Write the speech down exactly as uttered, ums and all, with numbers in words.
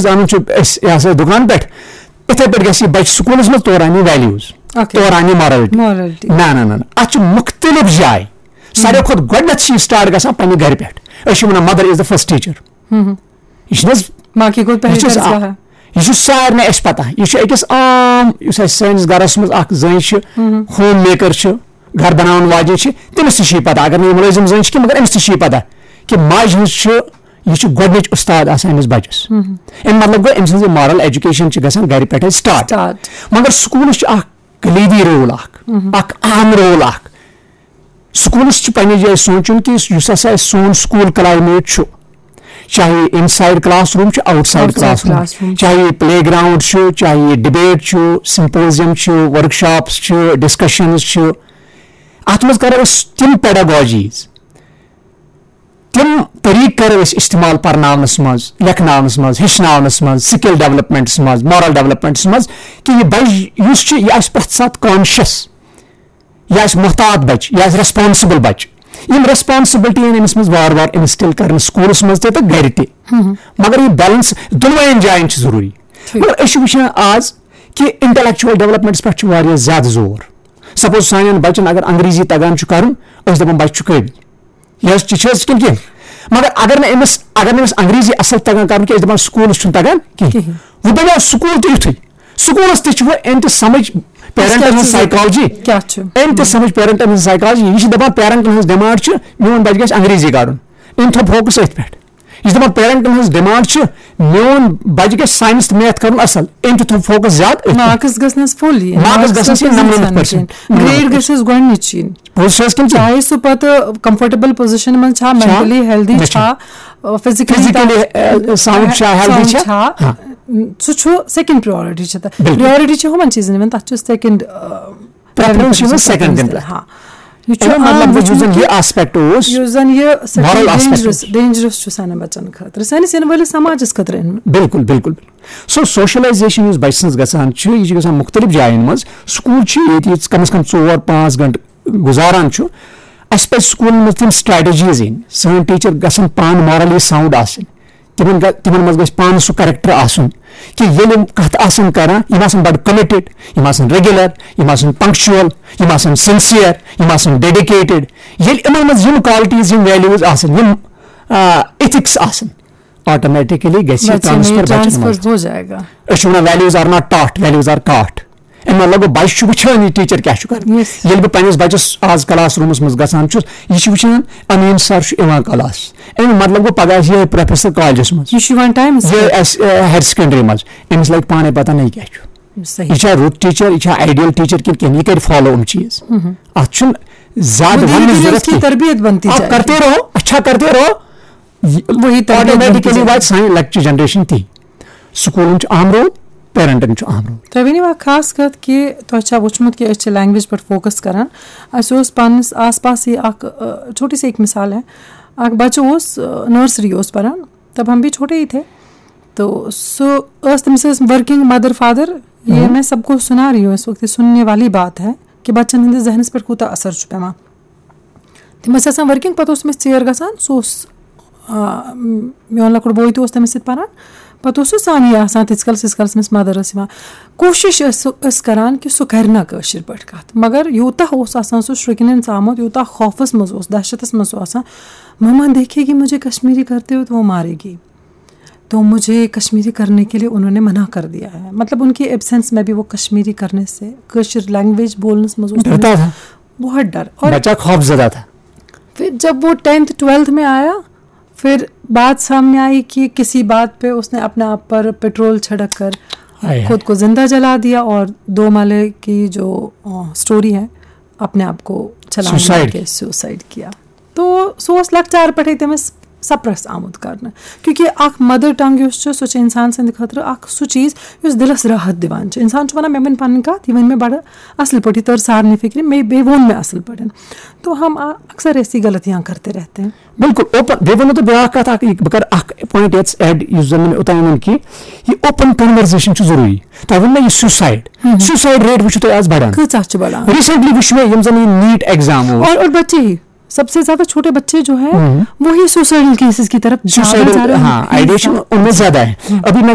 اَنُن چھُ اَسہِ، یہِ ہسا، دُکان پٮ۪ٹھ، یِتھَے پٲٹھۍ گژھِ یہِ بَچہِ سکوٗلَس منٛز، تورٕ اَنہِ یہِ ویلیوٗز، Okay. تورٕ اَنہِ یہِ مارلٹی۔ مارلٹی۔ نہ نہ نہ نہ، اَتھ چھُ مُختٔلِف جاے۔ ساروی کھۄتہٕ گۄڈٕنٮ۪تھ چھِ یہِ سٹارٹ گژھان پننہِ گرِ پٮ۪ٹھ۔ أسۍ چھِ وَنان mother is the first teacher۔ یہِ چھُنہٕ حظ، ماں کی گود پہلی یہِ چھُ ترجیح آ-، ہے۔ یہِ چھُ سارنٕے اَسہِ پَتہ۔ یہِ چھُ أکِس عام، یُس اَسہِ سٲنِس گرَس منٛز اَکھ زٔنۍ چھِ، ہوم میکر چھِ، گرٕ بَناوَن واجیٚنۍ چھِ، تٔمِس تہِ چھِ یہِ پَتہ۔ اگر نہٕ یہِ مُلٲزِم زٔنۍ چھِ کینٛہہ، مگر أمِس تہِ چھِ یہِ پَتہ کہِ ماجہِ ہٕنٛز چھِ، یہِ چھُ گۄڈٕنِچ اُستاد آسان أمِس بَچَس۔ اَمہِ مطلب گوٚو، أمۍ سٕنٛز یہِ moral education چھِ گژھان گرِ پٮ۪ٹھَے start۔ Start۔ مگر سکوٗلَس چھُ اَکھ کلیدی رول اَکھ، اَکھ اہم رول اَکھ۔ سکوٗلَس چھُ پننہِ جایہِ سونٛچُن کہِ یُس ہسا اَسہِ سون سکوٗل climate چھُ، چاہے inside class room چھُ، outside Outside class room، class room۔ چاہے یہِ پلے گراؤنڈ چھُ، چاہے یہِ ڈبیٹ چھُ، symposium چھُ، workshops چھِ، discussions چھِ، اَتھ منٛز کرو أسۍ تِم pedagogies، تِم طریٖقہٕ کرو أسۍ استعمال پرناونس منٛز، لیکھناونس منٛز، ہیٚچھناونس منٛز، skill developmentس منٛز، moral developmentس منٛز، کہِ یہِ بچہِ یُس چھُ، یہِ آسہِ پرٛٮ۪تھ ساتہٕ conscious، یہِ آسہِ محتاط بچہِ، یہِ آسہِ responsible بچہِ۔ یِم responsibility یِن أمِس منٛز وارٕ وارٕ instill کرنہٕ سکوٗلس منٛز تہِ تہٕ گرِ تہِ۔ مگر یہِ balance دۄنوَین جاین چھُ ضروٗری۔ ٹھیٖک۔ مگر أسۍ چھِ وٕچھان آز کہِ intellectual developmentس پٮ۪ٹھ چھُ واریاہ زیادٕ زور۔ Suppose سانٮ۪ن بچن اگر انگریزی تگان چھُ کرُن، أسۍ دپان بچہِ چھُ قٲبِل۔ یہِ حظ، یہِ چھِ حظ کِنہٕ کینٛہہ؟ مگر اگر نہٕ أمِس، اگر نہٕ أمِس انگریزی اصل تگان کرُن کینٛہہ، أسۍ دپان سکوٗلس چھُنہٕ تگان کینٛہہ۔ کِہیٖنۍ۔ وۄنۍ بنیو سکوٗل تہِ یُتھُے۔ سکوٗلس تہِ چھُ وۄنۍ أمۍ تہِ سمجھ parentن کیٛاہ ہٕنٛز چھُ ضروٗرت؟ psychology۔ کیٛاہ چھُ؟ أمۍ تہِ سمجھ parentن ہٕنٛز psychology۔ یہِ چھِ دپان parentن ہٕنٛز demand چھِ، میون بچہِ گژھِ انگریزی کرُن۔ أمۍ تھوٚو focus أتھۍ پٮ۪ٹھ۔ یہِ چھِ دپان parentن ہٕنٛز demand چھِ، میون بچہِ گژھِ science تہٕ math کرُن اصل۔ أمۍ تہِ تھوٚو focus زیادٕ أتھۍ پٮ۪ٹھ۔ marks گژھنس full یِنۍ، Marks گژھنس یِنۍ نَمنَمَتھ percent۔ grade گژھٮ۪س گۄڈٕنِچ یِنۍ۔ پوٚز چھِ حظ کِنہٕ ژٕ؟ چاہے سُہ پتہٕ comfortable position منٛز چھا، چھا؟ mentally healthy نہ چھا، physically Physically، uh, sound چھا، healthy چھا؟ چھا؟ ہاں۔ سُہ چھُ second priority چھِ تَتھ۔ بِلکُل۔ Priority چھِ ہُمن چیٖزن یِوان، تَتھ چھُ second، Preference چھِ یِوان second دِنہٕ۔ ہاں۔ یہِ چھُ اَمیُک مطلب عام گوٚو، یُس زَن وٕچھمُت یہِ کہِ aspect اوس، یُس زَن یہِ moral aspect dangerous اوس۔ Dangerous چھُ سانٮ۪ن بَچَن خٲطرٕ، سٲنِس یِنہٕ وٲلِس سماجَس خٲطرٕ۔ بِلکُل، بِلکُل، بِلکُل۔ So socialization یُس بَچہِ سٕنٛز گژھان چھِ، یہِ چھِ گژھان مُختٔلِف جایَن منٛز۔ سکوٗل چھِ ییٚتہِ ییٚتہِ کَم از کَم ژور پانٛژھ گھنٹہٕ گُزاران چھُ، اَسہِ پَزِ سکوٗلَن منٛز تِم strategies أنۍ۔ سٲنۍ teacher گژھن پانہٕ morally sound آسٕنۍ۔ تِمن گژھِ، تِمن منٛز گژھِ پانہٕ سُہ character آسُن کہِ ییٚلہِ یِم کَتھ آسَن کران، یِم آسَن بَڑٕ committed، یِم آسَن regular، یِم آسَن punctual، یِم آسَن sincere، یِم آسَن dedicated۔ ییٚلہِ یِمن منٛز یِم qualities، یِم values آسَن، یِم، آ، ethics آسَن، automatically گژھِ یہِ بچے میں transfer یہ بَچَن transfer منٛز۔ ہو جائے گا۔ أسۍ چھِ وَنان values are not taught, values are caught۔ اَمہِ مطلب گوٚو، بَچہِ چھُ وٕچھان یہِ teacher کیٛاہ چھُ کران۔ Yes۔ ییٚلہِ بہٕ پنٛنِس بَچَس آز class roomس منٛز گژھان چھُس، یہِ چھُ وٕچھان، امیٖن sir چھُ یِوان class۔ اَمیُک مطلب گوٚو، پَگاہ آسہِ یِہوٚے professor collegeس منٛز۔ یہِ چھُ یِوان time یہِ آسہِ، آ، higher secondary منٛز، أمِس لَگہِ پانَے پَتہ نہ یہِ کیٛاہ چھُ۔ صحیح۔ یہِ چھا رُت teacher، یہِ چھا ideal teacher کِنہٕ کِہیٖنۍ، یہِ کَرِ follow یِم چیٖز۔ اَتھ چھُنہٕ زیادٕ مدیٖر وَننٕچ گٔلی ضوٚرَتھ اس کی کینٛہہ۔ تربیت بنتی آپ جائے۔ کرتے رہو، اچھا کرتے رہو، وہی تربیت بنتی automatically جائے۔ واتہِ سانہِ لۄکچہِ generation تہِ۔ سکوٗلَن چھُ اہم role، parentن چھُ اہم role۔ تۄہہِ ؤنِو اکھ خاص کتھ کہِ تۄہہِ چھا وٕچھمُت کہِ أسۍ چھِ language پٮ۪ٹھ focus کران؟ اَسہِ اوس پننِس آس پاسٕے اکھ، ٲ، چھوٹی سی اکھ مثال ہے، اکھ بچہٕ اوس، ٲ، nursery اوس پران، تب ہم بھی چھوٹے ہی تھے، تو سُہ ٲس، تٔمِس ٲسۍ working mother father، یہ میں سب کو سنا رہی ہوں، اس وقت یہ سننے والی بات ہے کہ بچن ہٕنٛدِس ذہنس پٮ۪ٹھ کوٗتاہ اثر چھُ پٮ۪وان۔ تِم ٲسۍ آسان working، پتہٕ اوس تٔمِس ژیر گژھان، سُہ اوس، آ، میون لۄکُٹ بوے تہِ اوس تٔمِس سۭتۍ پران، پتہٕ اوس سُہ سانی آسان تیٖتِس کالس، ییٖتِس کالس تٔمِس mother ٲس یِوان۔ کوٗشِش ٲسۍ سُہ، ٲسۍ کران کہِ سُہ کرِ نا کٲشِر پٲٹھۍ کتھ، مگر یوٗتاہ اوس آسان سُہ شرٛکِنن ژامُت، یوٗتاہ خوفس منٛز اوس، دہشتس منٛز سُہ آسان، مما دیکھے گی مجھے کشمیری کرتے ہوئے تو وہ مارے گی، تو مجھے کشمیری کرنے کے لیے انہوں نے منع کر دیا ہے۔ مطلب، ان کی absence میں بھی وہ کشمیری کرنے سے، کٲشِر language بولنس منٛز اوس ڈرتا تھا۔ بہت ڈر۔ اور بچہ خوف زدہ تھا۔ پھر جب وہ ٹینتھ ٹویلتھ میں آیا، پھر بات سامنے آئی کہ کسی بات پہ اس نے اپنے آپ پر پیٹرول چھڑک کر ہائے ہائے۔ خود کو زندہ جلا دیا اور دو مالے کی جو، آ، story ہے، اپنے آپ کو چھلانگ مار Suicide۔ کے suicide کیا۔ تو سُہ اوس لۄکچار پٮ۪ٹھے تٔمِس suppress آمُت کرنہٕ، کیونکہ اکھ mother tongue یُس چھُ، سُہ چھُ انسان سٕنٛدِ خٲطرٕ اکھ سُہ چیٖز یُس دِلس راحت دِوان چھُ۔ انسان چھُ ونان، مےٚ ؤنۍ پنٕنۍ کتھ، یہِ ؤنۍ مےٚ بڑٕ اصل پٲٹھۍ، یہِ تٔر سارنٕے فکرِ، مےٚ، بیٚیہِ ووٚن مےٚ اصل پٲٹھۍ۔ تو ہم آ-، اکثر ایسی غلطیاں کرتے رہتے ہیں۔ بِلکُل، open۔ بیٚیہِ وَنو تہٕ بیٛاکھ کَتھ اَکھ، یہِ بہٕ کَرٕ اَکھ point ییٚتَس add، یُس زَن نہٕ مےٚ اوٚتام ووٚن کینٛہہ۔ یہِ open conversation چھُ ضروٗری۔ تۄہہِ ووٚن مےٚ یہِ suicide۔ Suicide rate وٕچھِو تُہۍ آز بَڑان۔ کۭژاہ چھِ بَڑان؟ Recently وٕچھ مےٚ یِم زَن یہِ NEET exam اوس۔ اور، اور بچے ہی، سب سے زیادہ چھوٹے بچے جو ہیں، وہی suicidal cases کی طرف زیادہ Suicidal، جا رہے ہیں۔ ہاں، ideation ان میں زیادہ ہے۔ ابھی میں نے